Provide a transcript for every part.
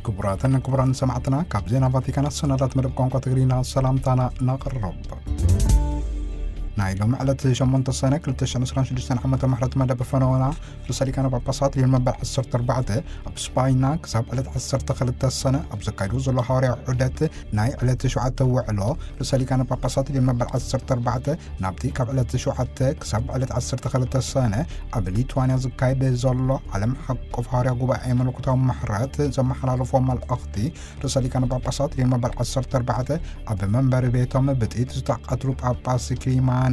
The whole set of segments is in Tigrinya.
ክቡራትን ክቡራን ሰማዕትና፣ ካብ ዜና ቫቲካን ኣሰናዳት መደብ ቋንቋ ትግርኛ ሰላምታና ነቕርብ። ናይ ሎም ዕለት ሸሞንተ ሰነ ክልተ ሽሕን ዕስራን ሽዱሽተን ዓመተ ምሕረት መደብ ፈነወና ርእሰ ሊቃነ ጳጳሳት ሊዮን መበል ዓሰርተ ኣርባዕተ ኣብ ስጳይና ክሳብ ዕለት ዓሰርተ ክልተ ሰነ ኣብ ዘካይዱ ዘሎ ሃዋርያዊ ዑደት ናይ ዕለት ሸውዓተ ውዕሎ ርእሰ ሊቃነ ጳጳሳት ሊዮን መበል ዓሰርተ ኣርባዕተ ናብቲ ካብ ዕለት ሸውዓተ ክሳብ ዕለት ዓሰርተ ክልተ ሰነ ኣብ ሊትዋንያ ዝካየድ ዘሎ ዓለም ሓቆፍ ሃዋርያ ጉባኤ መለኮታዊ ምሕረት ዘመሓላለፎ መልእኽቲ፣ ርእሰ ሊቃነ ጳጳሳት ሊዮን መበል ዓሰርተ ኣርባዕተ ኣብ መንበሪ ቤቶም ብጥይት ዝተቐትሉ ጳጳስ ክሊማኔን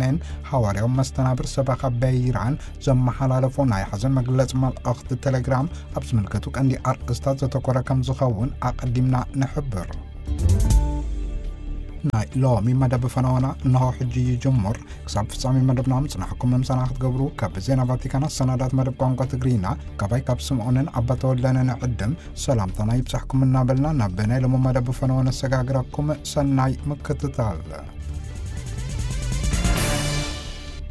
ሃዋርያዊ መስተናብር ሰበኻ በይራን ዘመሓላለፎ ናይ ሓዘን መግለጺ መልእኽቲ ቴሌግራም ኣብ ዝምልከቱ ቀንዲ ኣርእስታት ዘተኮረ ከም ዝኸውን ኣቐዲምና ንሕብር። ናይ ሎሚ መደብ ፈነወና እንሆ ሕጂ ይጅምር። ክሳብ ፍጻሜ መደብና ምጽናሕኩም ምምሳና ክትገብሩ ካብ ዜና ቫቲካን ኣሰናዳት መደብ ቋንቋ ትግርኛ ካባይ ካብ ስምዖንን ኣባ ተወልደን ንዕድም ሰላምታና ይብጻሕኩም እናበልና ናብ ናይ ሎሚ መደብ ፈነወ ነሰጋግረኩም። ሰናይ ምክትታል።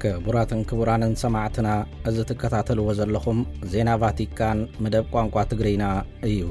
ክቡራትን ክቡራንን ሰማዕትና፣ እዚ ትከታተልዎ ዘለኹም ዜና ቫቲካን መደብ ቋንቋ ትግርኛ እዩ።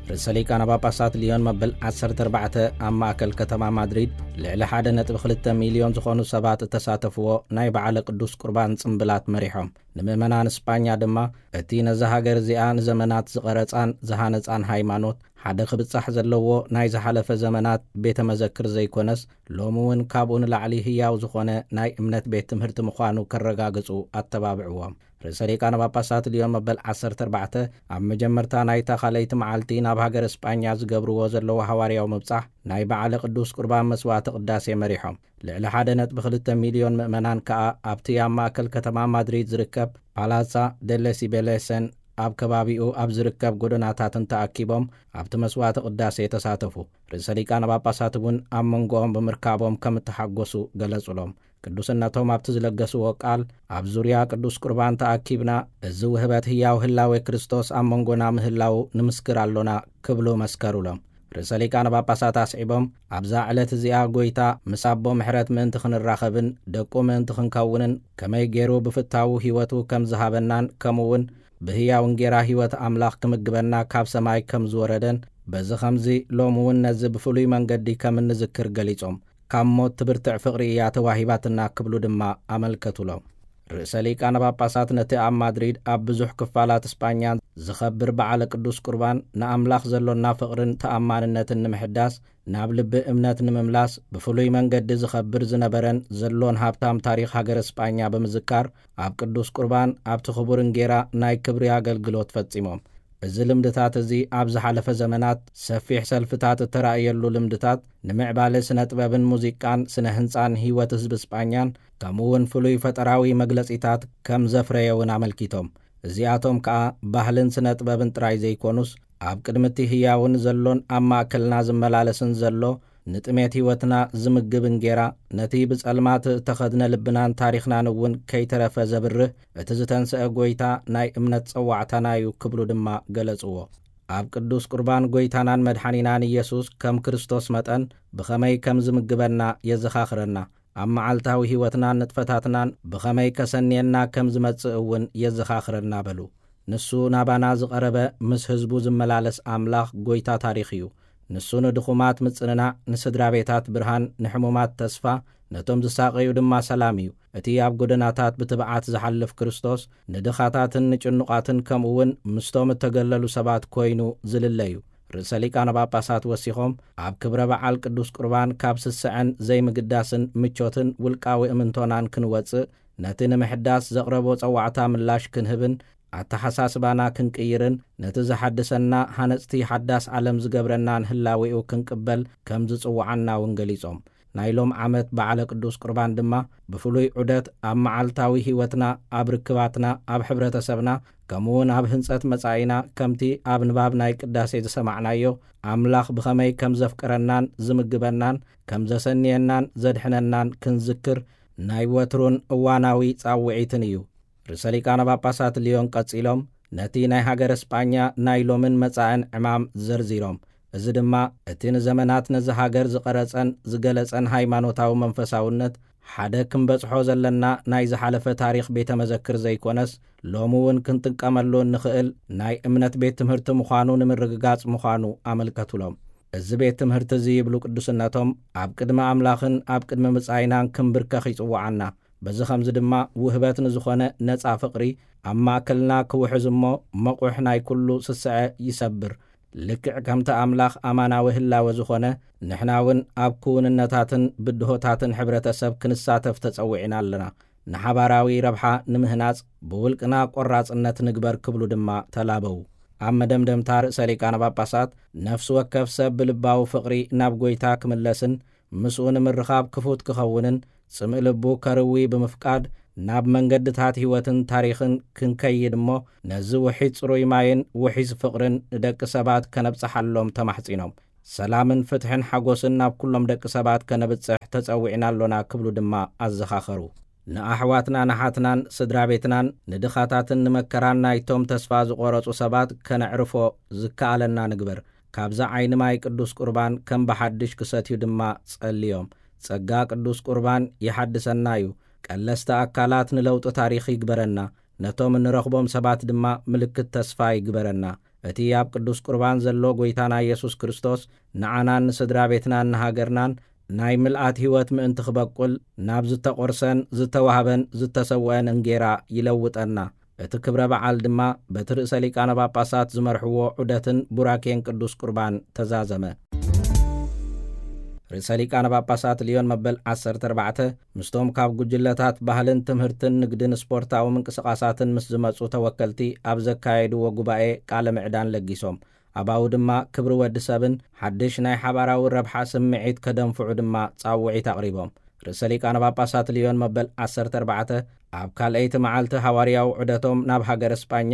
ርእሰ ሊቃነ ጳጳሳት ሊዮን መበል ዓሰርተ ኣርባዕተ ኣብ ማእከል ከተማ ማድሪድ ልዕሊ ሓደ ነጥቢ ክልተ ሚልዮን ዝኾኑ ሰባት እተሳተፍዎ ናይ በዓለ ቅዱስ ቁርባን ጽምብላት መሪሖም። ንምእመናን ስጳኛ ድማ እቲ ነዛ ሃገር እዚኣ ንዘመናት ዝቐረጻን ዝሃነጻን ሃይማኖት ሓደ ክብጻሕ ዘለዎ ናይ ዝሓለፈ ዘመናት ቤተ መዘክር ዘይኮነስ፣ ሎሚ እውን ካብኡ ንላዕሊ ህያው ዝኾነ ናይ እምነት ቤት ትምህርቲ ምዃኑ ከረጋግጹ ኣተባብዕዎም። ርእሰ ሊቃነ ጳጳሳት ሊዮን መበል ዓሰርተ ኣርባዕተ ኣብ መጀመርታ ናይታ ካልኣይቲ መዓልቲ ናብ ሃገረ ስጳኛ ዝገብርዎ ዘለዉ ሃዋርያዊ ምብጻሕ ናይ በዓለ ቅዱስ ቁርባን መስዋዕተ ቅዳሴ መሪሖም። ልዕሊ ሓደ ነጥቢ ክልተ ሚልዮን ምእመናን ከኣ ኣብቲ ኣብ ማእከል ከተማ ማድሪድ ዝርከብ ፓላሳ ደለ ሲቤሌሰን ኣብ ከባቢኡ ኣብ ዝርከብ ጎደናታትን ተኣኪቦም ኣብቲ መስዋዕተ ቅዳሴ ተሳተፉ። ርእሰ ሊቃነ ጳጳሳት እውን ኣብ መንጎኦም ብምርካቦም ከም እተሓጎሱ ገለጹሎም። ቅዱስነቶም ኣብቲ ዝለገስዎ ቃል፣ ኣብ ዙርያ ቅዱስ ቁርባን ተኣኪብና፣ እዚ ውህበት ህያው ህላዌ ክርስቶስ ኣብ መንጎና ምህላዉ ንምስክር ኣሎና ክብሉ መስከሩሎም። ርእሰ ሊቃነ ጳጳሳት ኣስዒቦም፣ ኣብዛ ዕለት እዚኣ ጐይታ ምስ ኣቦ ምሕረት ምእንቲ ክንራኸብን ደቁ ምእንቲ ክንከውንን ከመይ ገይሩ ብፍታዉ ህይወቱ ከም ዝሃበናን ከምኡውን ብህያው እንጌራ ህይወት ኣምላኽ ክምግበና ካብ ሰማይ ከም ዝወረደን በዚ ኸምዚ ሎሚ እውን ነዚ ብፍሉይ መንገዲ ከም እንዝክር ገሊጾም፣ ካብ ሞት ትብርትዕ ፍቕሪ እያ ተዋሂባትና ክብሉ ድማ ኣመልከቱሎም። ርእሰ ሊቃነ ጳጳሳት ነቲ ኣብ ማድሪድ ኣብ ብዙሕ ክፋላት ስጳኛ ዝኸብር በዓለ ቅዱስ ቁርባን ንኣምላኽ ዘሎና ፍቕርን ተኣማንነትን ንምሕዳስ፣ ናብ ልቢ እምነት ንምምላስ ብፍሉይ መንገዲ ዝኸብር ዝነበረን ዘሎን ሃብታም ታሪኽ ሃገረ ስጳኛ ብምዝካር፣ ኣብ ቅዱስ ቁርባን ኣብቲ ክቡር እንጌራ ናይ ክብሪ ኣገልግሎት ፈጺሞም። እዚ ልምድታት እዚ ኣብ ዝሓለፈ ዘመናት ሰፊሕ ሰልፍታት እተራእየሉ ልምድታት ንምዕባለ ስነ ጥበብን ሙዚቃን ስነ ህንጻን ህይወት ህዝቢ ስጳኛን ከምኡ እውን ፍሉይ ፈጠራዊ መግለጺታት ከም ዘፍረየ እውን ኣመልኪቶም። እዚኣቶም ከኣ ባህልን ስነ ጥበብን ጥራይ ዘይኮኑስ ኣብ ቅድሚ እቲ ህያውን ዘሎን ኣብ ማእከልና ዝመላለስን ዘሎ ንጥሜት ህይወትና ዝምግብ እንጌራ፣ ነቲ ብጸልማት እተኸድነ ልብናን ታሪኽናን እውን ከይተረፈ ዘብርህ እቲ ዝተንስአ ጐይታ ናይ እምነት ጸዋዕታና እዩ ክብሉ ድማ ገለጽዎ። ኣብ ቅዱስ ቁርባን ጐይታናን መድሓኒናን ኢየሱስ ከም ክርስቶስ መጠን ብኸመይ ከም ዝምግበና የዘኻኽረና። ኣብ መዓልታዊ ህይወትናን ንጥፈታትናን ብኸመይ ከሰንየና ከም ዝመጽእ እውን የዘኻኽረና በሉ። ንሱ ናባና ዝቐረበ ምስ ህዝቡ ዝመላለስ ኣምላኽ ጐይታ ታሪኽ እዩ። ንሱ ንድኹማት ምጽንናዕ፣ ንስድራ ቤታት ብርሃን፣ ንሕሙማት ተስፋ፣ ነቶም ዝሳቐዩ ድማ ሰላም እዩ። እቲ ኣብ ጎደናታት ብትብዓት ዝሓልፍ ክርስቶስ ንድኻታትን ንጭኑቓትን ከምኡ እውን ምስቶም እተገለሉ ሰባት ኮይኑ ዝልለ እዩ። ርእሰ ሊቃነ ጳጳሳት ወሲኾም፣ ኣብ ክብረ በዓል ቅዱስ ቁርባን ካብ ስስዐን ዘይምግዳስን ምቾትን ውልቃዊ እምንቶናን ክንወጽእ፣ ነቲ ንምሕዳስ ዘቕረቦ ጸዋዕታ ምላሽ ክንህብን ኣተሓሳስባና ክንቅይርን ነቲ ዝሓድሰና ሃነጽቲ ሓዳስ ዓለም ዝገብረናን ህላዌኡ ክንቅበል ከም ዝጽውዓና እውን ገሊጾም። ናይ ሎም ዓመት በዓለ ቅዱስ ቁርባን ድማ ብፍሉይ ዑደት ኣብ መዓልታዊ ህይወትና፣ ኣብ ርክባትና፣ ኣብ ሕብረተሰብና፣ ከምኡውን ኣብ ህንጸት መጻኢና ከምቲ ኣብ ንባብ ናይ ቅዳሴ ዝሰማዕናዮ ኣምላኽ ብኸመይ ከም ዘፍቅረናን ዝምግበናን ከም ዘሰንየናን ዘድሕነናን ክንዝክር ናይ ወትሩን እዋናዊ ጻውዒትን እዩ። ርእሰ ሊቃነ ጳጳሳት ልዮን ቀጺሎም ነቲ ናይ ሃገረ ስጳኛ ናይ ሎምን መጻእን ዕማም ዘርዚሮም። እዚ ድማ እቲ ንዘመናት ነዚ ሃገር ዝቐረጸን ዝገለጸን ሃይማኖታዊ መንፈሳውነት ሓደ ክንበጽሖ ዘለና ናይ ዝሓለፈ ታሪኽ ቤተ መዘክር ዘይኮነስ፣ ሎሚ እውን ክንጥቀመሉ እንኽእል ናይ እምነት ቤት ትምህርቲ ምዃኑ ንምርግጋጽ ምዃኑ ኣመልከቱሎም። እዚ ቤት ትምህርቲ እዚ፣ ይብሉ ቅዱስነቶም፣ ኣብ ቅድሚ ኣምላኽን ኣብ ቅድሚ ምጻይናን ክንብርከኽ ይጽውዓና። በዚ ኸምዚ ድማ ውህበት ንዝኾነ ነጻ ፍቕሪ ኣብ ማእከልና ክውሕዝ እሞ፣ መቑሕ ናይ ኩሉ ስስዐ ይሰብር። ልክዕ ከምቲ ኣምላኽ ኣማናዊ ህላወ ዝኾነ፣ ንሕና እውን ኣብ ክውንነታትን ብድሆታትን ሕብረተሰብ ክንሳተፍ ተጸዊዕና ኣለና። ንሓባራዊ ረብሓ ንምህናጽ ብውልቅና ቆራጽነት ንግበር ክብሉ ድማ ተላበዉ። ኣብ መደምደምታ ርእሰ ሊቃነ ጳጳሳት፣ ነፍሲ ወከፍ ሰብ ብልባዊ ፍቕሪ ናብ ጐይታ ክምለስን ምስኡ ንምርኻብ ክፉት ክኸውንን ጽምእ ልቡ ከርዊ ብምፍቃድ ናብ መንገድታት ህይወትን ታሪኽን ክንከይድ እሞ ነዚ ውሒዝ ጽሩይ ማይን ውሒዝ ፍቕርን ንደቂ ሰባት ከነብጽሓሎም ተማሕጺኖም። ሰላምን ፍትሕን ሓጎስን ናብ ኩሎም ደቂ ሰባት ከነብጽሕ ተጸዊዕና ኣሎና ክብሉ ድማ ኣዘኻኸሩ። ንኣሕዋትና ንሓትናን ስድራ ቤትናን ንድኻታትን ንመከራን ናይቶም ተስፋ ዝቖረጹ ሰባት ከነዕርፎ ዝከኣለና ንግበር። ካብዛ ዓይኒ ማይ ቅዱስ ቁርባን ከም ብሓድሽ ክሰትዩ ድማ ጸልዮም። ጸጋ ቅዱስ ቁርባን ይሓድሰና እዩ። ቀለስቲ ኣካላት ንለውጢ ታሪኽ ይግበረና። ነቶም እንረኽቦም ሰባት ድማ ምልክት ተስፋ ይግበረና። እቲ ኣብ ቅዱስ ቁርባን ዘሎ ጐይታና ኢየሱስ ክርስቶስ ንዓናን ንስድራ ቤትናን ንሃገርናን ናይ ምልኣት ህይወት ምእንቲ ክበቁል ናብ ዝተቖርሰን ዝተዋህበን ዝተሰውአን እንጌራ ይለውጠና። እቲ ክብረ በዓል ድማ በቲ ርእሰ ሊቃነ ጳጳሳት ዝመርሕዎ ዑደትን ቡራኬን ቅዱስ ቁርባን ተዛዘመ። ርእሰ ሊቃነ ጳጳሳት ልዮን መበል ዓሰርተ ኣርባዕተ ምስቶም ካብ ጉጅለታት ባህልን ትምህርትን ንግድን ስፖርታዊ ምንቅስቓሳትን ምስ ዝመጹ ተወከልቲ ኣብ ዘካየድዎ ጉባኤ ቃለ ምዕዳን ለጊሶም። ኣባኡ ድማ ክብሪ ወዲ ሰብን ሓድሽ ናይ ሓባራዊ ረብሓ ስምዒት ከደንፍዑ ድማ ጻውዒት ኣቕሪቦም። ርእሰ ሊቃነ ጳጳሳት ልዮን መበል ዓሰርተ ኣርባዕተ ኣብ ካልኣይቲ መዓልቲ ሃዋርያዊ ዑደቶም ናብ ሃገረ ስጳኛ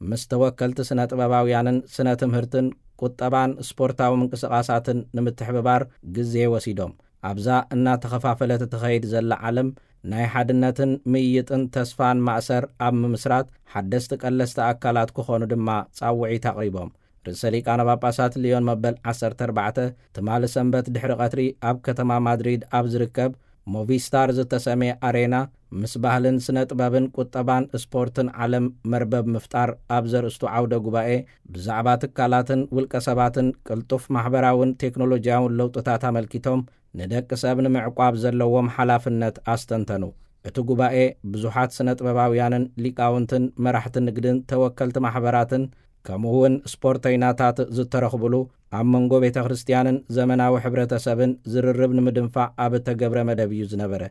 ምስ ተወከልቲ ስነ ጥበባውያንን ስነ ትምህርትን ቁጠባን ስፖርታዊ ምንቅስቓሳትን ንምትሕብባር ግዜ ወሲዶም። ኣብዛ እናተኸፋፈለት እትኸይድ ዘላ ዓለም ናይ ሓድነትን ምይይጥን ተስፋን ማእሰር ኣብ ምምስራት ሓደስቲ ቀለስቲ ኣካላት ክኾኑ ድማ ጻውዒት ኣቕሪቦም። ርእሰ ሊቃነ ጳጳሳት ልዮን መበል ዓሰርተ ኣርባዕተ ትማሊ ሰንበት ድሕሪ ቀትሪ ኣብ ከተማ ማድሪድ ኣብ ዝርከብ ሞቪስታር ዝተሰምየ ኣሬና ምስ ባህልን ስነ ጥበብን ቁጠባን ስፖርትን ዓለም መርበብ ምፍጣር ኣብ ዘርእስቱ ዓውደ ጉባኤ ብዛዕባ ትካላትን ውልቀ ሰባትን ቅልጡፍ ማሕበራውን ቴክኖሎጂያውን ለውጥታት ኣመልኪቶም ንደቂ ሰብ ንምዕቋብ ዘለዎም ሓላፍነት ኣስተንተኑ። እቲ ጉባኤ ብዙሓት ስነ ጥበባውያንን ሊቃውንትን መራሕቲ ንግድን ተወከልቲ ማሕበራትን ከምኡ እውን ስፖርተይናታት ዝተረኽብሉ ኣብ መንጎ ቤተ ክርስቲያንን ዘመናዊ ሕብረተሰብን ዝርርብ ንምድንፋዕ ኣብ እተገብረ መደብ እዩ ዝነበረ።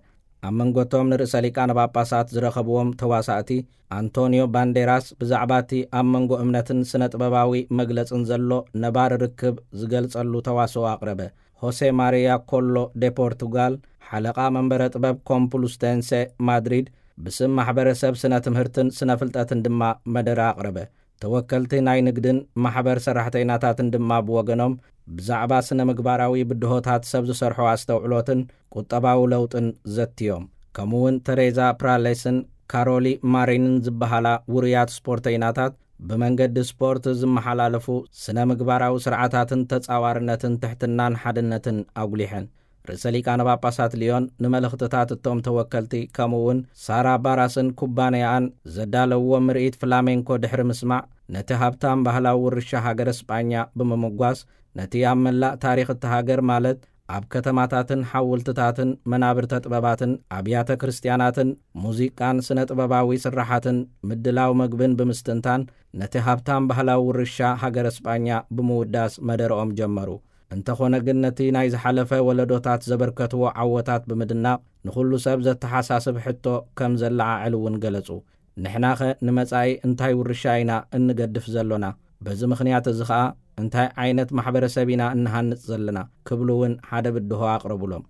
ኣብ መንጎቶም ንርእሰ ሊቃነ ጳጳሳት ዝረኸብዎም ተዋሳእቲ ኣንቶኒዮ ባንዴራስ ብዛዕባ እቲ ኣብ መንጎ እምነትን ስነ ጥበባዊ መግለጽን ዘሎ ነባሪ ርክብ ዝገልጸሉ ተዋስኦ ኣቕረበ። ሆሴ ማሪያ ኮሎ ደ ፖርቱጋል፣ ሓለቓ መንበረ ጥበብ ኮምፕሉስቴንሴ ማድሪድ፣ ብስም ማሕበረሰብ ስነ ትምህርትን ስነ ፍልጠትን ድማ መደረ ኣቕረበ። ተወከልቲ ናይ ንግድን ማሕበር ሰራሕተይናታትን ድማ ብወገኖም ብዛዕባ ስነ ምግባራዊ ብድሆታት ሰብ ዝሰርሖ ኣስተውዕሎትን ቁጠባዊ ለውጥን ዘትዮም። ከምኡውን ተሬዛ ፕራሌስን ካሮሊ ማሪንን ዝበሃላ ውሩያት ስፖርተይናታት ብመንገዲ ስፖርት ዝመሓላለፉ ስነ ምግባራዊ ስርዓታትን ተጻዋርነትን ትሕትናን ሓድነትን ኣጉሊሐን። ርእሰ ሊቃነ ጳጳሳት ልዮን ንመልእኽትታት እቶም ተወከልቲ ከምኡ እውን ሳራ ባራስን ኩባንያኣን ዘዳለውዎ ምርኢት ፍላሜንኮ ድሕሪ ምስማዕ ነቲ ሃብታም ባህላዊ ውርሻ ሃገረ ስጳኛ ብምምጓስ ነቲ ኣብ መላእ ታሪኽ እታ ሃገር ማለት ኣብ ከተማታትን ሓውልትታትን መናብርተ ጥበባትን ኣብያተ ክርስቲያናትን ሙዚቃን ስነ ጥበባዊ ስራሓትን ምድላው መግብን ብምስትንታን ነቲ ሃብታም ባህላዊ ውርሻ ሃገረ ስጳኛ ብምውዳስ መደረኦም ጀመሩ። እንተኾነ ግን ነቲ ናይ ዝሓለፈ ወለዶታት ዘበርከትዎ ዓወታት ብምድናቕ ንኹሉ ሰብ ዘተሓሳስብ ሕቶ ከም ዘለዓዕል እውን ገለጹ። ንሕናኸ ንመጻኢ እንታይ ውርሻ ኢና እንገድፍ ዘሎና? በዚ ምኽንያት እዚ ኸኣ እንታይ ዓይነት ማሕበረሰብ ኢና እንሃንጽ ዘለና? ክብሉ እውን ሓደ ብድሆ ኣቕረቡሎም።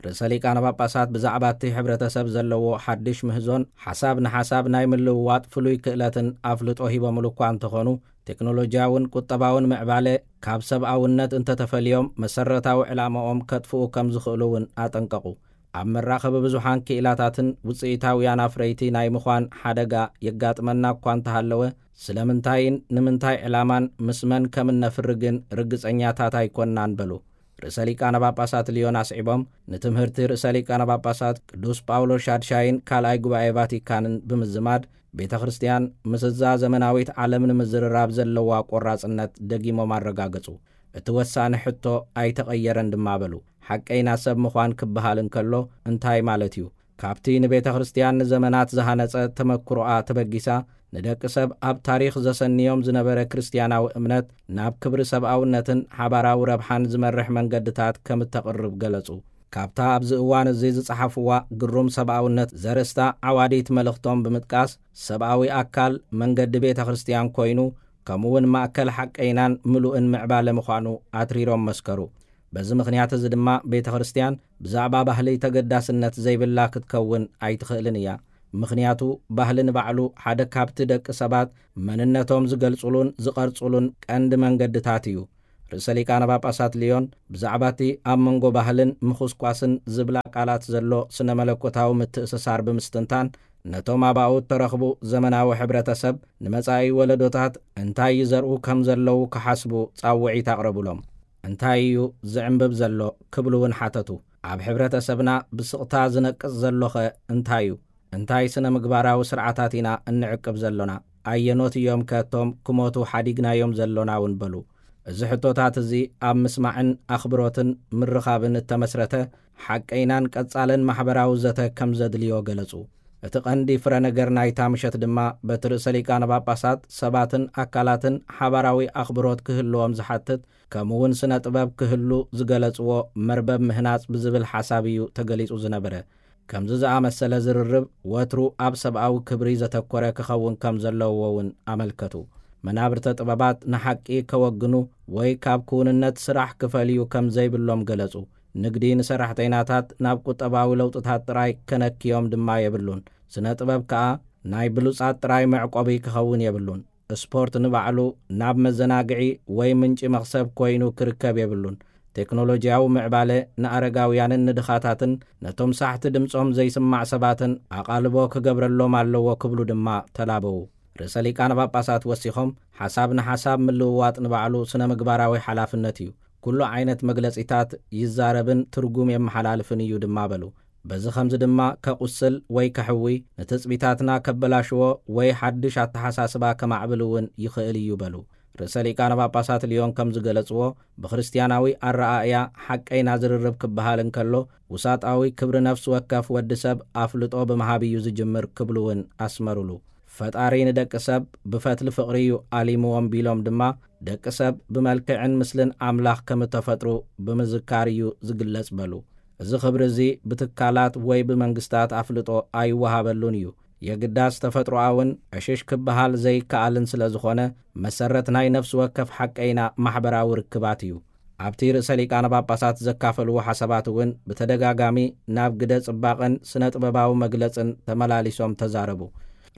ርእሰ ሊቃነ ጳጳሳት ብዛዕባ እቲ ሕብረተሰብ ዘለዎ ሓድሽ ምህዞን ሓሳብ ንሓሳብ ናይ ምልውዋጥ ፍሉይ ክእለትን ኣፍልጦ ሂቦምሉ እኳ እንተኾኑ፣ ቴክኖሎጂያውን ቁጠባውን ምዕባለ ካብ ሰብኣውነት እንተተፈልዮም መሰረታዊ ዕላማኦም ከጥፍኡ ከም ዝኽእሉ እውን ኣጠንቀቑ። ኣብ መራኸቢ ብዙሓን ክኢላታትን ውጽኢታውያን ኣፍረይቲ ናይ ምዃን ሓደጋ የጋጥመና እኳ እንተሃለወ፣ ስለምንታይን ንምንታይ ዕላማን ምስ መን ከም እነፍሪ ግን ርግጸኛታት ኣይኮንናን በሉ። ርእሰ ሊቃነ ጳጳሳት ልዮን ኣስዒቦም፣ ንትምህርቲ ርእሰ ሊቃነ ጳጳሳት ቅዱስ ጳውሎስ ሻድሻይን ካልኣይ ጉባኤ ቫቲካንን ብምዝማድ፣ ቤተ ክርስቲያን ምስዛ ዘመናዊት ዓለም ንምዝርራብ ዘለዋ ቆራጽነት ደጊሞም ኣረጋገጹ። እቲ ወሳኒ ሕቶ ኣይተቐየረን ድማ በሉ። ሓቀይና ሰብ ምዃን ክበሃል እንከሎ እንታይ ማለት እዩ? ካብቲ ንቤተ ክርስቲያን ንዘመናት ዝሃነጸ ተመክሮኣ ተበጊሳ፣ ንደቂ ሰብ ኣብ ታሪኽ ዘሰንዮም ዝነበረ ክርስትያናዊ እምነት ናብ ክብሪ ሰብኣውነትን ሓባራዊ ረብሓን ዝመርሕ መንገድታት ከም እተቕርብ ገለጹ። ካብታ ኣብዚ እዋን እዚ ዝጸሓፍዋ ግሩም ሰብኣውነት ዘርእስታ ዓዋዲት መልእኽቶም ብምጥቃስ፣ ሰብኣዊ ኣካል መንገዲ ቤተ ክርስቲያን ኮይኑ፣ ከምኡውን ማእከል ሓቀይናን ምሉእን ምዕባለ ምዃኑ ኣትሪሮም መስከሩ። በዚ ምኽንያት እዚ ድማ ቤተ ክርስቲያን ብዛዕባ ባህሊ ተገዳስነት ዘይብላ ክትከውን ኣይትኽእልን እያ። ምኽንያቱ ባህሊ ንባዕሉ ሓደ ካብቲ ደቂ ሰባት መንነቶም ዝገልጹሉን ዝቐርጹሉን ቀንዲ መንገድታት እዩ። ርእሰ ሊቃነ ጳጳሳት ልዮን ብዛዕባ እቲ ኣብ መንጎ ባህልን ምኹስኳስን ዝብላ ቃላት ዘሎ ስነ መለኮታዊ ምትእስሳር ብምስትንታን፣ ነቶም ኣብኡ እተረኽቡ ዘመናዊ ሕብረተሰብ ንመጻኢ ወለዶታት እንታይ ይዘርኡ ከም ዘለዉ ክሓስቡ ጻውዒት ኣቕረቡሎም። እንታይ እዩ ዝዕምብብ ዘሎ ክብሉ እውን ሓተቱ። ኣብ ሕብረተሰብና ብስቕታ ዝነቅጽ ዘሎኸ እንታይ እዩ? እንታይ ስነ ምግባራዊ ስርዓታት ኢና እንዕቅብ ዘሎና? ኣየኖት እዮም ከቶም ክሞቱ ሓዲግናዮም ዘሎና እውን በሉ። እዚ ሕቶታት እዚ ኣብ ምስማዕን ኣኽብሮትን ምርኻብን እተመስረተ ሓቀይናን ቀጻልን ማሕበራዊ ዘተ ከም ዘድልዮ ገለጹ። እቲ ቀንዲ ፍረ ነገር ናይታ ምሸት ድማ በቲ ርእሰ ሊቃነ ጳጳሳት ሰባትን ኣካላትን ሓባራዊ ኣኽብሮት ክህልዎም ዝሓትት፣ ከምኡውን ስነ ጥበብ ክህሉ ዝገለጽዎ መርበብ ምህናጽ ብዝብል ሓሳብ እዩ ተገሊጹ ዝነበረ። ከምዚ ዝኣመሰለ ዝርርብ ወትሩ ኣብ ሰብኣዊ ክብሪ ዘተኮረ ክኸውን ከም ዘለዎ እውን ኣመልከቱ። መናብርተ ጥበባት ንሓቂ ከወግኑ ወይ ካብ ክውንነት ስራሕ ክፈልዩ ከም ዘይብሎም ገለጹ። ንግዲ ንሰራሕተይናታት ናብ ቁጠባዊ ለውጥታት ጥራይ ከነክዮም ድማ የብሉን። ስነ ጥበብ ከኣ ናይ ብሉጻት ጥራይ መዕቆቢ ክኸውን የብሉን። ስፖርት ንባዕሉ ናብ መዘናግዒ ወይ ምንጪ መኽሰብ ኮይኑ ክርከብ የብሉን። ቴክኖሎጂያዊ ምዕባለ ንኣረጋውያንን ንድኻታትን ነቶም ሳሕቲ ድምጾም ዘይስማዕ ሰባትን ኣቓልቦ ክገብረሎም ኣለዎ ክብሉ ድማ ተላበዉ። ርእሰ ሊቃነ ጳጳሳት ወሲኾም፣ ሓሳብ ንሓሳብ ምልውዋጥ ንባዕሉ ስነ ምግባራዊ ሓላፍነት እዩ። ኩሉ ዓይነት መግለጺታት ይዛረብን ትርጉም የመሓላልፍን እዩ ድማ በሉ። በዚ ኸምዚ ድማ ከቑስል ወይ ከሕዊ፣ ንትጽቢታትና ከበላሽዎ ወይ ሓድሽ ኣተሓሳስባ ከማዕብል እውን ይኽእል እዩ በሉ። ርእሰ ሊቃነ ጳጳሳት ልዮን ከም ዝገለጽዎ፣ ብክርስትያናዊ ኣረኣእያ ሓቀይና ዝርርብ ክበሃል እንከሎ፣ ውሳጣዊ ክብሪ ነፍሲ ወከፍ ወዲ ሰብ ኣፍልጦ ብምሃብ እዩ ዝጅምር ክብሉ እውን ኣስመሩሉ። ፈጣሪ ንደቂ ሰብ ብፈትሊ ፍቕሪ እዩ ኣሊምዎም ቢሎም ድማ፣ ደቂ ሰብ ብመልክዕን ምስልን ኣምላኽ ከም እተፈጥሩ ብምዝካር እዩ ዝግለጽ በሉ። እዚ ክብሪ እዚ ብትካላት ወይ ብመንግስታት ኣፍልጦ ኣይወሃበሉን እዩ። የግዳስ ተፈጥሮኣውን ዕሽሽ ክበሃል ዘይከኣልን ስለ ዝኾነ፣ መሰረት ናይ ነፍሲ ወከፍ ሓቀይና ማሕበራዊ ርክባት እዩ። ኣብቲ ርእሰ ሊቃነ ጳጳሳት ዘካፈልዎ ሓሳባት እውን ብተደጋጋሚ ናብ ግደ ጽባቐን ስነ ጥበባዊ መግለጽን ተመላሊሶም ተዛረቡ።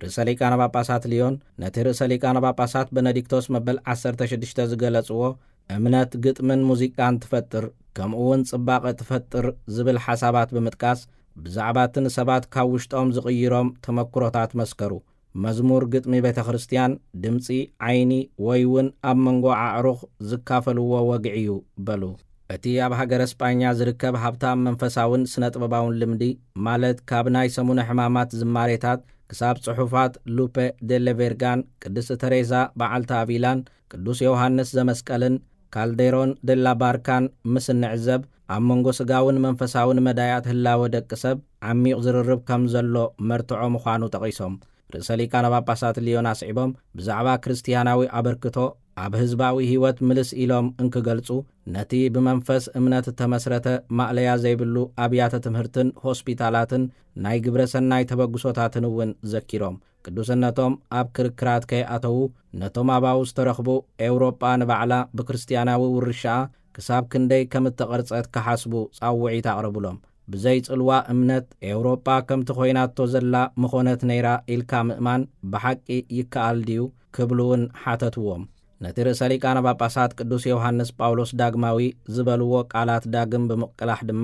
ርእሰ ሊቃነ ጳጳሳት ልዮን ነቲ ርእሰ ሊቃነ ጳጳሳት በነዲክቶስ መበል ዓሰርተ ሽዱሽተ ዝገለጽዎ፣ "እምነት ግጥምን ሙዚቃን ትፈጥር፣ ከምኡ እውን ጽባቐ ትፈጥር" ዝብል ሓሳባት ብምጥቃስ፣ ብዛዕባ እቲ ንሰባት ካብ ውሽጦም ዝቕይሮም ተመክሮታት መስከሩ። መዝሙር ግጥሚ ቤተ ክርስቲያን፣ ድምጺ፣ ዓይኒ፣ ወይ እውን ኣብ መንጎ ኣዕሩኽ ዝካፈልዎ ወግዒ እዩ በሉ። እቲ ኣብ ሃገረ ስጳኛ ዝርከብ ሃብታም መንፈሳውን ስነ ጥበባውን ልምዲ፣ ማለት ካብ ናይ ሰሙነ ሕማማት ዝማሬታት ክሳብ ጽሑፋት ሉፔ ደለ ቬርጋን፣ ቅድስቲ ተሬዛ በዓልቲ ኣቪላን፣ ቅዱስ ዮሃንስ ዘመስቀልን፣ ካልዴሮን ደላ ባርካን ምስ እንዕዘብ፣ ኣብ መንጎ ስጋውን መንፈሳውን መዳያት ህላወ ደቂ ሰብ ዓሚቕ ዝርርብ ከም ዘሎ መርትዖ ምዃኑ ጠቒሶም፣ ርእሰ ሊቃነ ጳጳሳት ልዮን ኣስዒቦም፣ ብዛዕባ ክርስትያናዊ ኣበርክቶ ኣብ ህዝባዊ ህይወት ምልስ ኢሎም እንክገልጹ፣ ነቲ ብመንፈስ እምነት እተመስረተ ማእለያ ዘይብሉ ኣብያተ ትምህርትን ሆስፒታላትን ናይ ግብረ ሰናይ ተበግሶታትን እውን ዘኪሮም፣ ቅዱስነቶም ኣብ ክርክራት ከይኣተዉ፣ ነቶም ኣባው ዝተረኽቡ፣ ኤውሮጳ ንባዕላ ብክርስትያናዊ ውርሻኣ ክሳብ ክንደይ ከም እተቐርጸት ክሓስቡ ጻውዒት ኣቕረቡሎም። ብዘይ ጽልዋ እምነት፣ ኤውሮጳ ከምቲ ኮይናቶ ዘላ ምኾነት ነይራ ኢልካ ምእማን ብሓቂ ይከኣል ድዩ? ክብሉ እውን ሓተትዎም። ነቲ ርእሰ ሊቃነ ጳጳሳት ቅዱስ ዮሃንስ ጳውሎስ ዳግማዊ ዝበልዎ ቃላት ዳግም ብምቅላሕ ድማ፣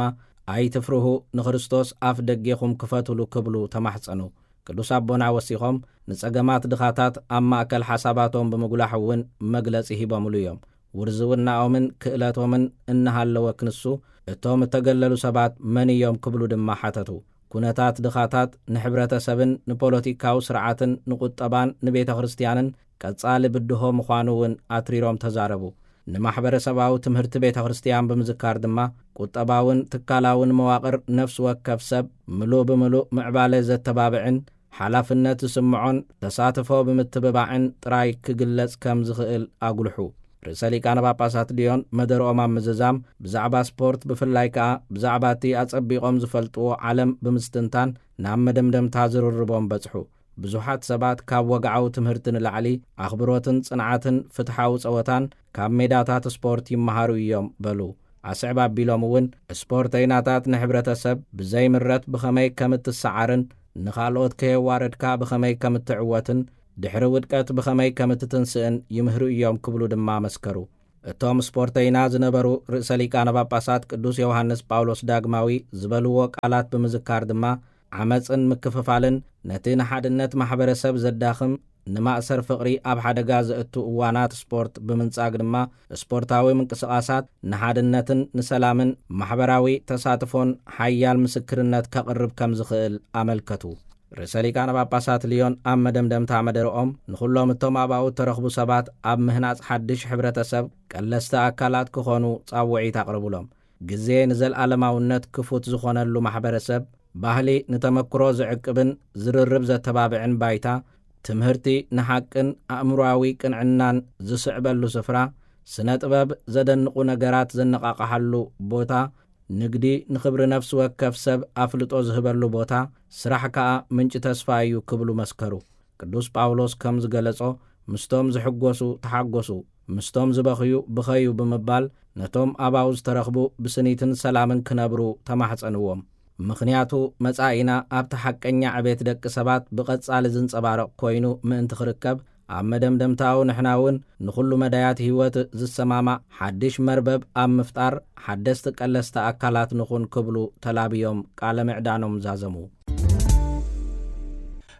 "ኣይትፍርሁ፣ ንክርስቶስ ኣፍ ደጌኹም ክፈቱሉ" ክብሉ ተማሕጸኑ። ቅዱስ ኣቦና ወሲኾም፣ ንጸገማት ድኻታት ኣብ ማእከል ሓሳባቶም ብምጉላሕ እውን መግለጺ ሂቦምሉ እዮም። ውርዝውናኦምን ክእለቶምን እናሃለወ ክንሱ፣ እቶም እተገለሉ ሰባት መን እዮም ክብሉ ድማ ሓተቱ። ኩነታት ድኻታት ንሕብረተሰብን ንፖለቲካዊ ስርዓትን ንቁጠባን ንቤተ ክርስቲያንን ቀጻሊ ብድሆ ምዃኑ እውን ኣትሪሮም ተዛረቡ። ንማሕበረሰባዊ ትምህርቲ ቤተ ክርስቲያን ብምዝካር ድማ፣ ቁጠባውን ትካላውን መዋቕር ነፍሲ ወከፍ ሰብ ምሉእ ብምሉእ ምዕባለ ዘተባብዕን ሓላፍነት ዝስምዖን ተሳትፎ ብምትብባዕን ጥራይ ክግለጽ ከም ዝኽእል ኣጉልሑ። ርእሰ ሊቃነ ጳጳሳት ልዮን መደርኦም ኣብ ምዝዛም፣ ብዛዕባ ስፖርት ብፍላይ ከኣ ብዛዕባ እቲ ኣጸቢቖም ዝፈልጥዎ ዓለም ብምስትንታን ናብ መደምደምታ ዝርርቦም በጽሑ። ብዙሓት ሰባት ካብ ወግዓዊ ትምህርቲ ንላዕሊ ኣኽብሮትን ጽንዓትን ፍትሓዊ ጸወታን ካብ ሜዳታት ስፖርት ይመሃሩ እዮም በሉ። ኣስዕብ ኣቢሎም እውን፣ ስፖርተይናታት ንሕብረተሰብ ብዘይምረት ብኸመይ ከም እትሰዓርን ንኻልኦት ከየዋረድካ ብኸመይ ከም እትዕወትን ድሕሪ ውድቀት ብኸመይ ከም እትትንስእን ይምህሩ እዮም ክብሉ ድማ መስከሩ። እቶም ስፖርተይና ዝነበሩ ርእሰ ሊቃነ ጳጳሳት ቅዱስ ዮሃንስ ጳውሎስ ዳግማዊ ዝበልዎ ቃላት ብምዝካር ድማ፣ ዓመጽን ምክፍፋልን ነቲ ንሓድነት ማሕበረሰብ ዘዳኽም፣ ንማእሰር ፍቕሪ ኣብ ሓደጋ ዘእቱ እዋናት ስፖርት ብምንጻግ ድማ፣ ስፖርታዊ ምንቅስቓሳት ንሓድነትን ንሰላምን ማሕበራዊ ተሳትፎን ሓያል ምስክርነት ከቕርብ ከም ዝኽእል ኣመልከቱ። ርእሰ ሊቃነ ጳጳሳት ልዮን ኣብ መደምደምታ መደረኦም፣ ንኹሎም እቶም ኣብኡ እተረኽቡ ሰባት ኣብ ምህናጽ ሓድሽ ሕብረተሰብ ቀለስቲ ኣካላት ክኾኑ ጻውዒት ኣቕርቡሎም። ግዜ ንዘለኣለማውነት ክፉት ዝኾነሉ ማሕበረሰብ፣ ባህሊ ንተመክሮ ዝዕቅብን ዝርርብ ዘተባብዕን ባይታ፣ ትምህርቲ ንሓቅን ኣእምሮኣዊ ቅንዕናን ዝስዕበሉ ስፍራ፣ ስነ ጥበብ ዘደንቑ ነገራት ዘነቓቕሓሉ ቦታ፣ ንግዲ ንኽብሪ ነፍሲ ወከፍ ሰብ ኣፍልጦ ዝህበሉ ቦታ፣ ስራሕ ከኣ ምንጪ ተስፋ እዩ ክብሉ መስከሩ። ቅዱስ ጳውሎስ ከም ዝገለጾ፣ ምስቶም ዝሕጎሱ ተሓጎሱ፣ ምስቶም ዝበኽዩ ብኸዩ ብምባል፣ ነቶም ኣባኡ ዝተረኽቡ ብስኒትን ሰላምን ክነብሩ ተማሕጸንዎም። ምኽንያቱ፣ መጻኢና ኣብቲ ሓቀኛ ዕቤት ደቂ ሰባት ብቐጻሊ ዝንጸባረቕ ኮይኑ ምእንቲ ክርከብ፣ ኣብ መደምደምታኡ ንሕና እውን ንኹሉ መዳያት ህይወት ዝሰማማዕ ሓድሽ መርበብ ኣብ ምፍጣር ሓደስቲ ቀለስቲ ኣካላት ንኹን ክብሉ ተላብዮም ቃለ ምዕዳኖም ዛዘሙ።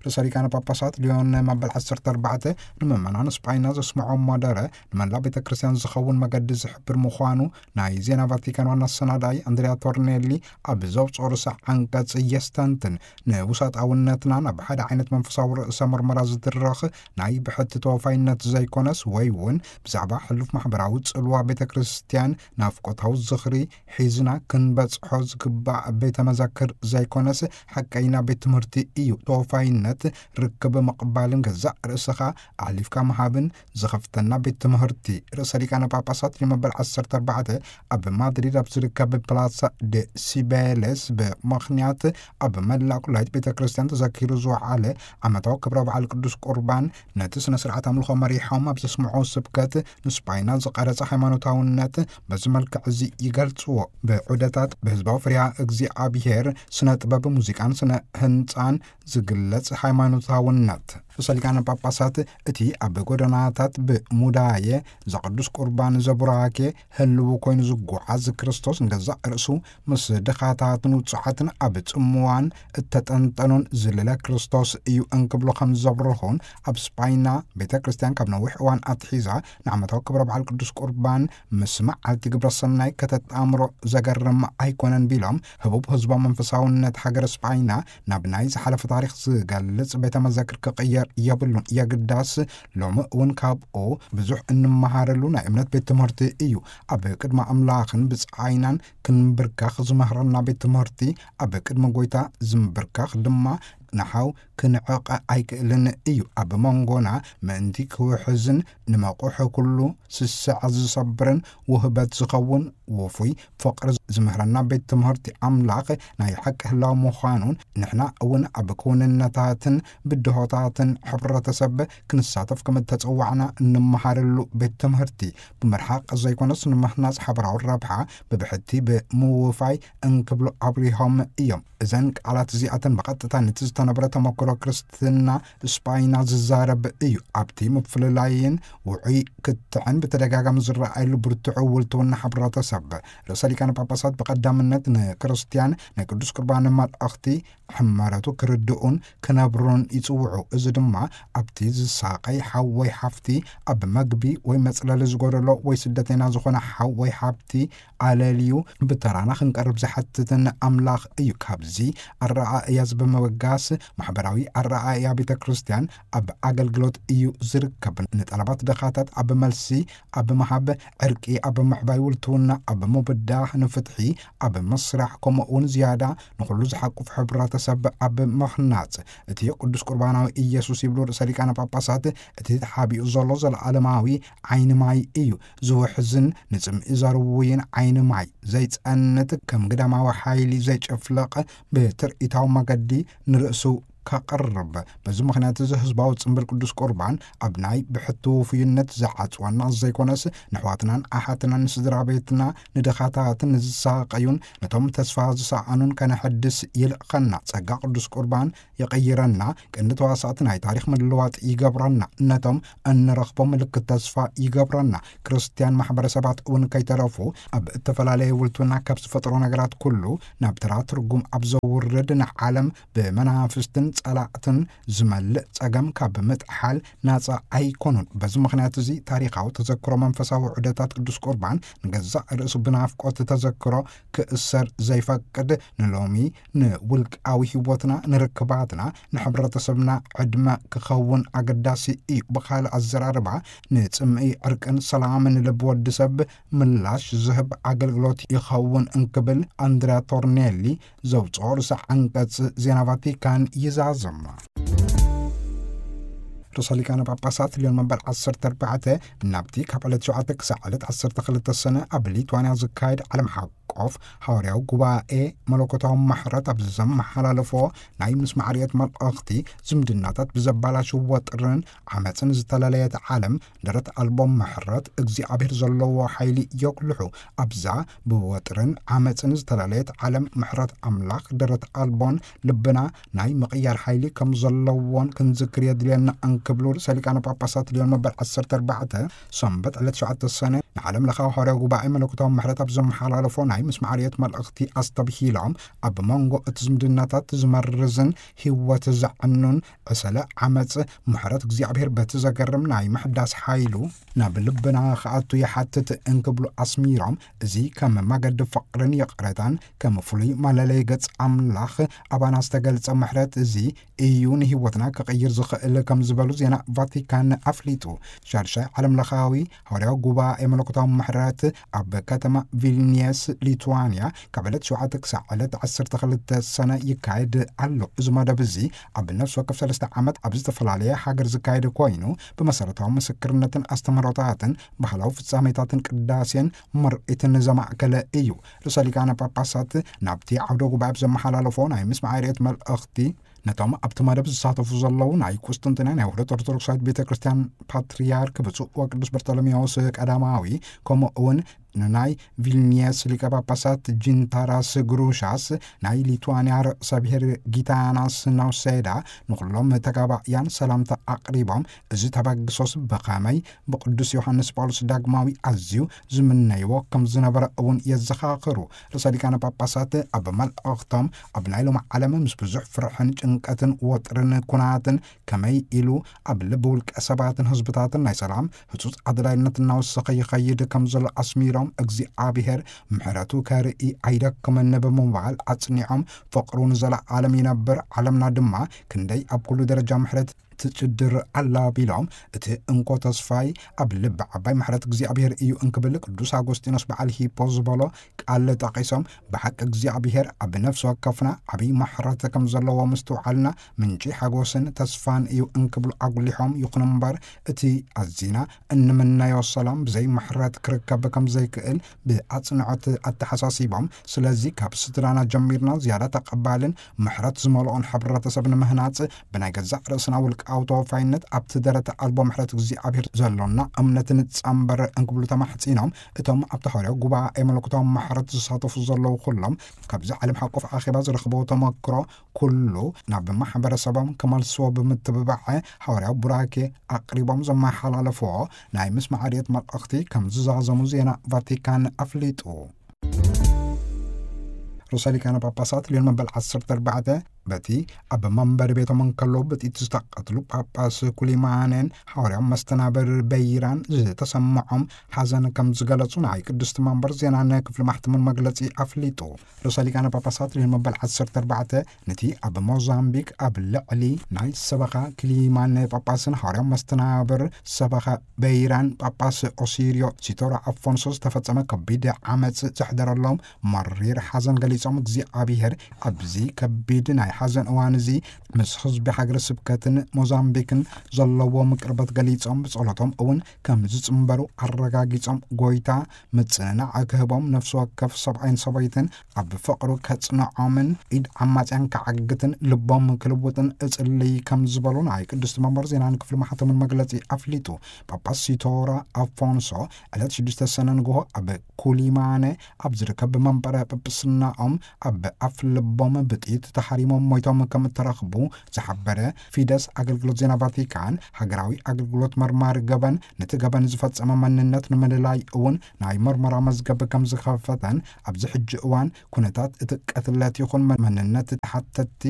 ርእሰ ሊቃነ ጳጳሳት ሊዮን መበል ዓሰርተ ኣርባዕተ ንምእመናን ስጳይና ዘስምዖ መደረ፣ ንመላእ ቤተ ክርስቲያን ዝኸውን መገዲ ዝሕብር ምዃኑ ናይ ዜና ቫቲካን ዋና ኣሰናዳኢ ኣንድሪያ ቶርኔሊ ኣብ ዘውፅኦ ርእሰ ዓንቀጽ የስተንትን። ንውሳጣውነትና ናብ ሓደ ዓይነት መንፈሳዊ ርእሰ መርመራ ዝድረኽ ናይ ብሕቲ ተወፋይነት ዘይኮነስ፣ ወይ እውን ብዛዕባ ሕሉፍ ማሕበራዊ ጽልዋ ቤተ ክርስቲያን ናፍቆታዊ ዝኽሪ ሒዝና ክንበጽሖ ዝግባእ ቤተ መዘክር ዘይኮነስ፣ ሓቀይና ቤት ትምህርቲ እዩ። ተወፋይነት ርክብ ምቕባልን ገዛእ ርእስኻ ኣሕሊፍካ ምሃብን ዝኸፍተና ቤት ትምህርቲ። ርእሰ ሊቃነ ጳጳሳት ሊዮ መበል ዓሰርተ ኣርባዕተ ኣብ ማድሪድ ኣብ ዝርከብ ፕላሳ ደ ሲቤሌስ ብምኽንያት ኣብ መላእ ኩላይት ቤተ ክርስቲያን ተዘኪሩ ዝወዓለ ዓመታዊ ክብረ በዓል ቅዱስ ቁርባን፣ ነቲ ስነ ስርዓት ኣምልኾ መሪሖም ኣብ ዘስምዖ ስብከት፣ ንስጳይና ዝቐረጸ ሃይማኖታውነት በዚ መልክዕ እዚ ይገልጽዎ። ብዑደታት ብህዝባዊ ፍርሃ እግዚኣብሔር፣ ስነ ጥበብ፣ ሙዚቃን ስነ ህንጻን ዝግለጽ ሃይማኖታውነት። ርእሰ ሊቃነ ጳጳሳት፣ እቲ ኣብ ጎደናታት ብሙዳየ ዘቅዱስ ቁርባን ዘቡራኬ ህልው ኮይኑ ዝጓዓዝ ክርስቶስ፣ ንገዛእ ርእሱ ምስ ድኻታትን ውጹዓትን ኣብ ጽምዋን እተጠንጠኑን ዝልለ ክርስቶስ እዩ እንክብሉ ከም ዘብርኹን፣ ኣብ ስጳይና ቤተ ክርስቲያን ካብ ነዊሕ እዋን ኣትሒዛ ንዓመታዊ ክብረ በዓል ቅዱስ ቁርባን ምስ መዓልቲ ግብረ ሰናይ ከተጣምሮ ዘገርም ኣይኮነን ቢሎም፣ ህቡብ ህዝባዊ መንፈሳውነት ሃገረ ስጳይና ናብ ናይ ዝሓለፈ ታሪኽ ዝገልጽ ቤተ መዘክር ክቕየር የብሉን። የግዳስ ሎሚ እውን ካብኡ ብዙሕ እንመሃረሉ ናይ እምነት ቤት ትምህርቲ እዩ። ኣብ ቅድሚ ኣምላኽን ብጻይናን ክንብርከኽ ዝምህረና ቤት ትምህርቲ፣ ኣብ ቅድሚ ጎይታ ዝምብርከኽ ድማ ንሓው ክንዕቐ ኣይክእልን እዩ። ኣብ መንጎና ምእንቲ ክውሕዝን ንመቑሕ ኩሉ ስስዐ ዝሰብርን ውህበት ዝኸውን ውፉይ ፍቕሪ ዝምህረና ቤት ትምህርቲ ኣምላኽ ናይ ሓቂ ህላው ምዃኑን፣ ንሕና እውን ኣብ ክውንነታትን ብድሆታትን ሕብረተሰብ ክንሳተፍ ከም እተጸዋዕና እንመሃረሉ ቤት ትምህርቲ፣ ብምርሓቕ ዘይኮነስ ንምህናጽ ሓበራዊ ረብሓ ብብሕቲ ብምውፋይ እንክብሉ ኣብሪሆም እዮም። እዘን ቃላት እዚኣተን ብቐጥታ ነቲ ዝተነብረ ተመክሮ ጀምሮ ክርስትና ስጳይና ዝዛረብ እዩ። ኣብቲ ምፍልላይን ውዑይ ክትዕን ብተደጋጋሚ ዝረኣየሉ ብርቱዕ ውልትውና ሕብረተሰብ፣ ርእሰ ሊቃነ ጳጳሳት ብቐዳምነት ንክርስትያን ናይ ቅዱስ ቁርባን መልእኽቲ ሕመረቱ ክርድኡን ክነብሩን ይጽውዑ። እዚ ድማ ኣብቲ ዝሳቐይ ሓው ወይ ሓፍቲ፣ ኣብ መግቢ ወይ መጽለሊ ዝጎደሎ ወይ ስደተኛ ዝኾነ ሓው ወይ ሓፍቲ ኣለልዩ ብተራና ክንቀርብ ዝሓትትን ኣምላኽ እዩ። ካብዚ ኣረኣእያ እዚ ብምብጋስ፣ ማሕበራዊ ኣረኣእያ ቤተ ክርስቲያን ኣብ ኣገልግሎት እዩ ዝርከብ። ንጠለባት ድኻታት ኣብ መልሲ ኣብ ምሃብ፣ ዕርቂ ኣብ ምዕባይ፣ ውልትውና ኣብ ምብዳህ፣ ንፍትሒ ኣብ ምስራሕ፣ ከምኡ እውን ዝያዳ ንኹሉ ዝሓቁፍ ሕብረተሰብ ኣብ ምኽናጽ፣ እቲ ቅዱስ ቁርባናዊ ኢየሱስ ይብሉ ርእሰ ሊቃነ ጳጳሳት፣ እቲ ተሓቢኡ ዘሎ ዘለኣለማዊ ዓይኒ ማይ እዩ። ዝውሕዝን ንጽምኢ ዘርውይን ዓይኒ ማይ ዘይጸንት፣ ከም ግዳማዊ ሓይሊ ዘይጭፍለቕ፣ ብትርኢታዊ መገዲ ንርእሱ ከቕርብ። በዚ ምኽንያት እዚ ህዝባዊ ጽምብል ቅዱስ ቁርባን ኣብ ናይ ብሕቲ ውፉይነት ዝዓጽወና ዘይኮነስ፣ ንኣሕዋትናን ኣሓትናን፣ ንስድራ ቤትና፣ ንድኻታትን ንዝሳቐዩን ነቶም ተስፋ ዝሰኣኑን ከነሐድስ ይልእኸና። ጸጋ ቅዱስ ቁርባን ይቕይረና፣ ቀንዲ ተዋሳእቲ ናይ ታሪኽ ምልዋጥ ይገብረና፣ ነቶም እንረኽቦ ምልክት ተስፋ ይገብረና። ክርስትያን ማሕበረሰባት እውን ከይተረፉ ኣብ እተፈላለየ ውልትውና ካብ ዝፈጥሮ ነገራት ኩሉ ናብ ተራ ትርጉም ኣብ ዘውርድ፣ ንዓለም ብመናፍስትን ጸላእትን ዝመልእ ጸገም ካብ ምጥሓል ናጻ ኣይኮኑን። በዚ ምኽንያት እዚ ታሪኻዊ ተዘክሮ መንፈሳዊ ዑደታት ቅዱስ ቁርባን ንገዛእ ርእሱ ብናፍቆት ተዘክሮ ክእሰር ዘይፈቅድ፣ ንሎሚ ንውልቃዊ ህይወትና፣ ንርክባትና፣ ንሕብረተሰብና ዕድመ ክኸውን ኣገዳሲ እዩ። ብኻልእ ኣዘራርባ፣ ንጽምኢ ዕርቅን ሰላምን ልቢ ወዲ ሰብ ምላሽ ዝህብ ኣገልግሎት ይኸውን እንክብል ኣንድሪያ ቶርኔሊ ዘውጽኦ ርእሰ ዓንቀጽ ዜና ቫቲካን ይዛዝም። ርእሰ ሊቃነ ጳጳሳት ልዮን መበል ዓሰርተ ኣርባዕተ ናብቲ ካብ ዕለት ሸውዓተ ክሳዕ ዕለት ዓሰርተ ክልተ ሰነ ኣብ ሊትዋንያ ዝካየድ ዓለም ሓቆፍ ሃዋርያዊ ጉባኤ መለኮታዊ ማሕረት ኣብ ዘመሓላለፎ ናይ ምስማዕ ርየት መልእኽቲ፣ ዝምድናታት ብዘባላሽው ወጥርን ዓመፅን ዝተለለየት ዓለም፣ ደረት ኣልቦ ምሕረት እግዚኣብሔር ዘለዎ ሓይሊ የጉልሑ። ኣብዛ ብወጥርን ዓመፅን ዝተለለየት ዓለም፣ ምሕረት ኣምላኽ ደረት ኣልቦን ልብና ናይ ምቕያር ሓይሊ ከም ዘለዎን ክንዝክር የድልየና እንክብሉ ርእሰ ሊቃነ ጳጳሳት ልዮን መበል ዓሰርተ ኣርባዕተ ሰንበት ዕለት ሸውዓተ ሰነ ንዓለም ለኻዊ ሃዋርያዊ ጉባኤ መለኮታዊ ምሕረት ኣብ ዘመሓላለፎ ናይ ምስማዕ ርየት መልእኽቲ ኣስተብሂሎም፣ ኣብ መንጎ እቲ ዝምድናታት ዝመርዝን ህይወት ዘዕኑን ዕሰለ ዓመፅ፣ ምሕረት እግዚኣብሔር በቲ ዘገርም ናይ ምሕዳስ ሓይሉ ናብ ልብና ክኣቱ ይሓትት እንክብሉ ኣስሚሮም፣ እዚ ከም መገዲ ፍቕርን ይቕረታን፣ ከም ፍሉይ መለለይ ገጽ ኣምላኽ ኣባና ዝተገልጸ ምሕረት እዚ እዩ ንህይወትና ክቕይር ዝኽእል ከም ዝበሉ ዜና ቫቲካን ኣፍሊጡ። ሻድሻይ ዓለም ለኻዊ ሃዋርያዊ ጉባኤ መለኮታዊ ምሕረት ኣብ ከተማ ቪልኒየስ ሊትዋንያ ካብ ዕለት ሸውዓተ ክሳዕ ዕለት ዓሰርተ ክልተ ሰነ ይካየድ ኣሎ። እዚ መደብ እዚ ኣብ ነፍሲ ወከፍ ሰለስተ ዓመት ኣብ ዝተፈላለየ ሃገር ዝካየድ ኮይኑ፣ ብመሰረታዊ ምስክርነትን ኣስተምህሮታትን ባህላዊ ፍጻሜታትን ቅዳሴን ምርኢትን ዘማእከለ እዩ። ርእሰ ሊቃነ ጳጳሳት ናብቲ ዓውደ ጉባኤ ብዘመሓላለፎ ናይ ምስማዕ ርየት መልእኽቲ፣ ነቶም ኣብቲ መደብ ዝሳተፉ ዘለዉ ናይ ቁስጥንጥንያ ናይ ውህደት ኦርቶዶክሳዊት ቤተ ክርስቲያን ፓትርያርክ ብፁዕ ወቅዱስ በርጠሎሜዎስ ቀዳማዊ፣ ከምኡ እውን ንናይ ቪልኒየስ ሊቀ ጳጳሳት ጂንታራስ ግሩሻስ፣ ናይ ሊቱዋንያ ርእሰ ብሔር ጊታናስ ናውሴዳ፣ ንኹሎም ተጋባእያን ሰላምታ ኣቕሪቦም፣ እዚ ተበግሶስ ብኸመይ ብቅዱስ ዮሃንስ ጳውሎስ ዳግማዊ ኣዝዩ ዝምነይዎ ከም ዝነበረ እውን የዘኻኽሩ። ርእሰ ሊቃነ ጳጳሳት ኣብ መልእኽቶም፣ ኣብ ናይ ሎሚ ዓለም ምስ ብዙሕ ፍርሕን ጭንቀትን ወጥርን ኩናትን ከመይ ኢሉ ኣብ ልቢ ውልቀ ሰባትን ህዝብታትን ናይ ሰላም ህጹጽ ኣድላይነት እናወሰኸ ይኸይድ ከም ዘሎ ኣስሚሮም፣ እግዚኣብሔር ምሕረቱ ከርኢ ኣይደክምን ብምባል ኣጽኒዖም፣ ፍቕሩ ንዘለዓለም ይነብር፣ ዓለምና ድማ ክንደይ ኣብ ኩሉ ደረጃ ምሕረት ትጭድር ኣላ ቢሎም፣ እቲ እንኮ ተስፋይ ኣብ ልቢ ዓባይ ምሕረት እግዚኣብሔር እዩ እንክብል ቅዱስ ኣጎስጢኖስ በዓል ሂፖ ዝበሎ ቃል ጠቒሶም፣ ብሓቂ እግዚኣብሔር ኣብ ነፍሲ ወከፍና ዓብዪ ምሕረት ከም ዘለዎ ምስትውዓልና ምንጪ ሓጎስን ተስፋን እዩ እንክብሉ ኣጉሊሖም፣ ይኹን እምበር እቲ ኣዚና እንምነዮ ሰላም ብዘይ ምሕረት ክርከብ ከም ዘይክእል ብኣጽንዖት ኣተሓሳሲቦም፣ ስለዚ ካብ ስድራና ጀሚርና ዝያዳ ተቐባልን ምሕረት ዝመልኦን ሕብረተሰብ ንምህናጽ ብናይ ገዛእ ርእስና ውልቀ ኣውቶፋይነት ኣብቲ ደረት ኣልቦ ምሕረት እግዚኣብሔር ዘሎና እምነት ንጻምበር እንክብሉ ተማሕጺኖም፣ እቶም ኣብቲ ሐዋርያዊ ጉባኤ መለኮታዊ ምሕረት ዝሳተፉ ዘለዉ ኩሎም ካብዚ ዓለም ሓቆፍ ኣኼባ ዝረኽበዎ ተመክሮ ኩሉ ናብ ማሕበረሰቦም ክመልስዎ ብምትብባዕ ሐዋርያዊ ቡራኬ ኣቕሪቦም ዘመሓላለፍዎ ናይ ምስማዕ ርድየት መልእኽቲ ከም ዝዛዘሙ ዜና ቫቲካን ኣፍሊጡ። ርእሰ ሊቃነ ጳጳሳት ሊዮን መበል ዓሰርተ ኣርባዕተ በቲ ኣብ መንበሪ ቤቶም እንከለዉ ብጥይት ዝተቐትሉ ጳጳስ ኩሊማኔን ሐዋርያዊ መስተናብር በይራን ዝተሰምዖም ሓዘን ከም ዝገለጹ ናይ ቅድስቲ መንበር ዜናን ክፍሊ ማሕተምን መግለጺ ኣፍሊጡ። ርእሰ ሊቃነ ጳጳሳት ሊዮን መበል ዓሰርተ ኣርባዕተ ነቲ ኣብ ሞዛምቢክ ኣብ ልዕሊ ናይ ሰበኻ ክሊማን ጳጳስን ሐዋርያዊ መስተናብር ሰበኻ በይራን ጳጳስ ኦሲርዮ ሲቶራ ኣፎንሶ ዝተፈጸመ ከቢድ ዓመጽ ዘሕደረሎም መሪር ሓዘን ገሊጾም፣ እግዚኣብሔር ኣብዚ ከቢድ ናይ ሓዘን እዋን እዚ ምስ ህዝቢ ሃገረ ስብከትን ሞዛምቢክን ዘለዎም ቅርበት ገሊጾም፣ ብጸሎቶም እውን ከም ዝጽንበሩ ኣረጋጊጾም፣ ጎይታ ምጽንናዕ ክህቦም፣ ነፍሲ ወከፍ ሰብኣይን ሰበይትን ኣብ ፍቕሩ ከጽንዖምን ኢድ ዓማጽያን ክዓግትን ልቦም ክልውጥን እጽልይ ከም ዝበሉ ናይ ቅድስቲ መንበር ዜናን ክፍሊ ማሕተምን መግለጺ ኣፍሊጡ። ጳጳስ ሲቶራ ኣፎንሶ ዕለት ሽዱሽተ ሰነ ንግሆ ኣብ ኩሊማነ ኣብ ዝርከብ መንበረ ጵጵስናኦም ኣብ ኣፍ ልቦም ብጥይት ተሓሪሞም ሞይቶም ከም እተረኽቡ ዝሓበረ ፊደስ ኣገልግሎት ዜና ቫቲካን፣ ሃገራዊ ኣገልግሎት መርማሪ ገበን ነቲ ገበን ዝፈጸመ መንነት ንምልላይ እውን ናይ መርመራ መዝገብ ከም ዝኸፈተን፣ ኣብዚ ሕጂ እዋን ኩነታት እቲ ቅትለት ይኹን መንነት ተሓተትቲ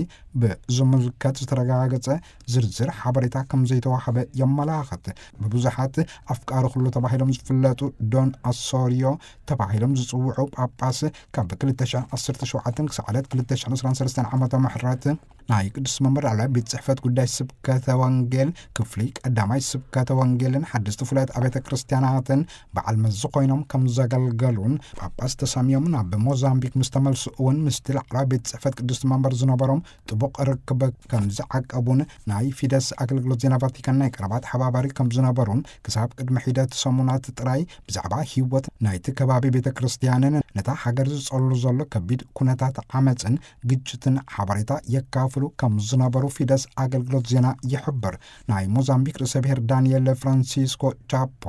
ብዝምልከት ዝተረጋገጸ ዝርዝር ሓበሬታ ከም ዘይተዋህበ የመላኽት። ብብዙሓት ኣፍቃሪ ኩሉ ተባሂሎም ዝፍለጡ ዶን ኣሶሪዮ ተባሂሎም ዝጽውዑ ጳጳስ ካብ ክልተ ሽሕን ዓሰርተ ሸውዓተን ክሳዕ ዕለት ክልተ ሽሕን ዕስራን ሰለስተን ዓመተ ምሕረት ናይ ቅዱስ መንበር ላዕለዋይ ቤት ጽሕፈት ጉዳይ ስብከተ ወንጌል ክፍሊ ቀዳማይ ስብከተ ወንጌልን ሓደስቲ ፍሉያት ኣብያተ ክርስቲያናትን በዓል መዚ ኮይኖም ከም ዘገልገሉን ጳጳስ ተሰምዮም ናብ ሞዛምቢክ ምስ ተመልሱ እውን ምስቲ ላዕለዋይ ቤት ጽሕፈት ቅዱስ መንበር ዝነበሮም ጥቡቕ ርክብ ከም ዝዓቀቡን ናይ ፊደስ ኣገልግሎት ዜና ቫቲካን ናይ ቀረባ ተሓባባሪ ከም ዝነበሩን ክሳብ ቅድሚ ሒደት ሰሙናት ጥራይ ብዛዕባ ህይወት ናይቲ ከባቢ ቤተ ክርስቲያንን ነታ ሃገር ዝጸሉ ዘሎ ከቢድ ኩነታት ዓመጽን ግጭትን ሓበሬታ የካፍሉ ከም ዝነበሩ ፊደስ ኣገልግሎት ዜና ይሕብር። ናይ ሞዛምቢክ ርእሰ ብሔር ዳንኤል ፍራንሲስኮ ቻፖ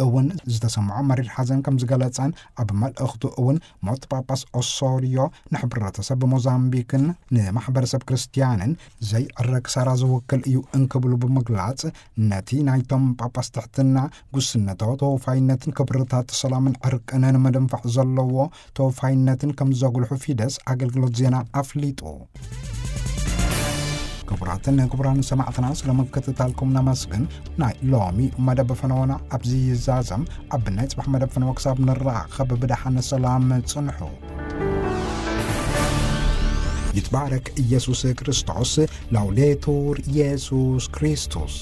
እውን ዝተሰምዖ መሪር ሓዘን ከም ዝገለጸን ኣብ መልእኽቱ እውን ሞት ጳጳስ ኦሶሪዮ ንሕብረተሰብ ሞዛምቢክን ንማሕበረሰብ ክርስቲያንን ዘይዕረ ክሳራ ዝውክል እዩ እንክብሉ ብምግላጽ፣ ነቲ ናይቶም ጳጳስ ትሕትና፣ ጉስነታዊ ተወፋይነትን ክብርታት ሰላምን ዕርቅን ንምድንፋዕ ዘለዎ ተወፋይነትን ከም ዘጉልሑ ፊደስ ኣገልግሎት ዜና ኣፍሊጡ። ክቡራትን ክቡራን ሰማዕትና፣ ስለ ምክትታልኩም ነመስግን። ናይ ሎሚ መደብ ፈነወና ኣብዚ ይዛዘም። ኣብ ናይ ጽባሕ መደብ ፈነወ ክሳብ ንራኸብ ብደሓን ሰላም ጽንሑ። ይትባረክ ኢየሱስ ክርስቶስ። ላውዴቱር ኢየሱስ ክርስቶስ።